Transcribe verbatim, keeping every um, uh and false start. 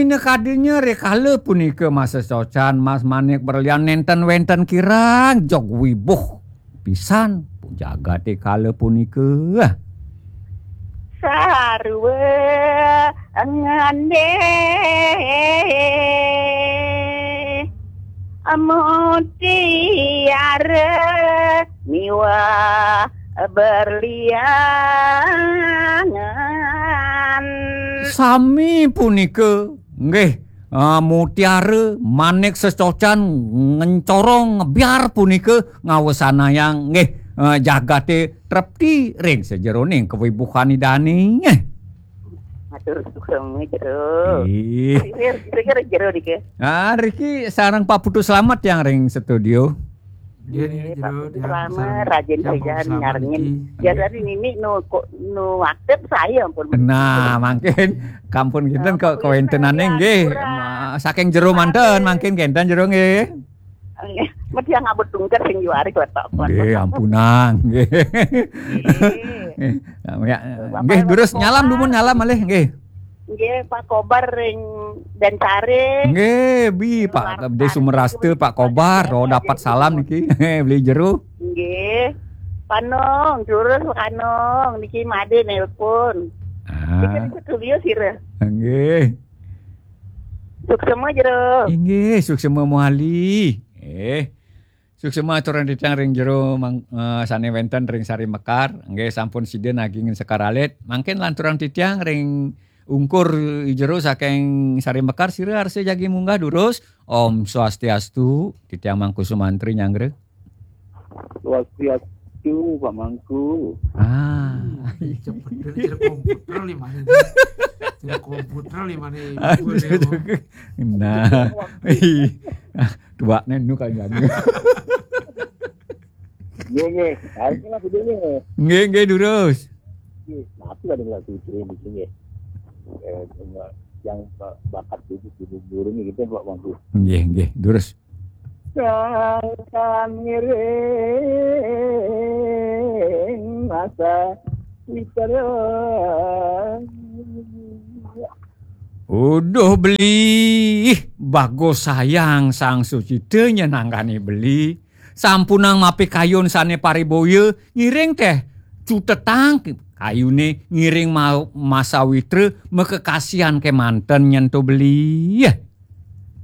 Nekadanya rikala punika masa socan Mas Manik Berlian nenten wenten kirang jog wibuh pisan jagate kala punika. Sarwa ngandeh mutiara miwah berliangan. Sami punika, nggih, ah, mutiara manik sesocan ngencorong ngebiar punika ngawesanayang, nggih, ah, jagate trepti ring sajeroning kawibuhan Idane. Matur suksma, Jero. Ih. Sisir, sisir Jero niki. Ah, Riki sareng Pak Putu Slamet yang ring studio. Nggih, nggih, Jero, Pak Putu Slamet, rajin-rajin nyarengin. Biasane niki nu kok nu aktif saya ampun. Nah, mangkin kampun kinten kok kawentenane nggih. Saking Jero manten mangkin kenten Jero nggih. Nggih, medhi ngabut tungker sing juari keletok. Nggih, ampunang nggih. Nggih. Ya, nggih, durus nyalam dumun nyalam malih nggih. Nggih, Pak Kobar ring Densari. Nggih, bi Pak Gede Sumerasta, Pak Kobar, oh, dapat salam niki. Beli Jero. Nggih. Panong, durus Panong niki made nelpon. Ah. Niki ring studio sira. Nggih. Suksma Jero. Inggih, suksma muali. Eh. Suksma aturang titiang ring Jero mang, eh, sane wenten ring Sari Mekar. Nggih, sampun sida nagingin sekar alit. Mangkin lanturang titiang ring ungkur Jero saking Sari Mekar, sira arsa jagi munggah durus. Om Swastiastu, titiang Mangku Sumantri nyanggra. Swastiastu, Pak Mangku. Ah. Ih, cepet bener, jadi komputer limane. Jadi komputer limane. Aduh, aduh. Nah. Ih. Ah, tuakne nu kan jago. Nggih, nggih. Ayo lah, dulu nggih. Nggih, nggih, durus. Nggih, mati lah dengan Fitri di sini. Eh, yang ba-, bakat itu di burung gitu, Pak Mangku. Nggih, nggih, durus. Sangkan ngiring masa witera. Uduh beli, bagus sayang Sang Sucita nyenanggani beli. Sampunang mapikayun sane pariboya, ngiring teh cutetang kayune ngiring ma-, masa witra makekasihan kemanten nyen to beli.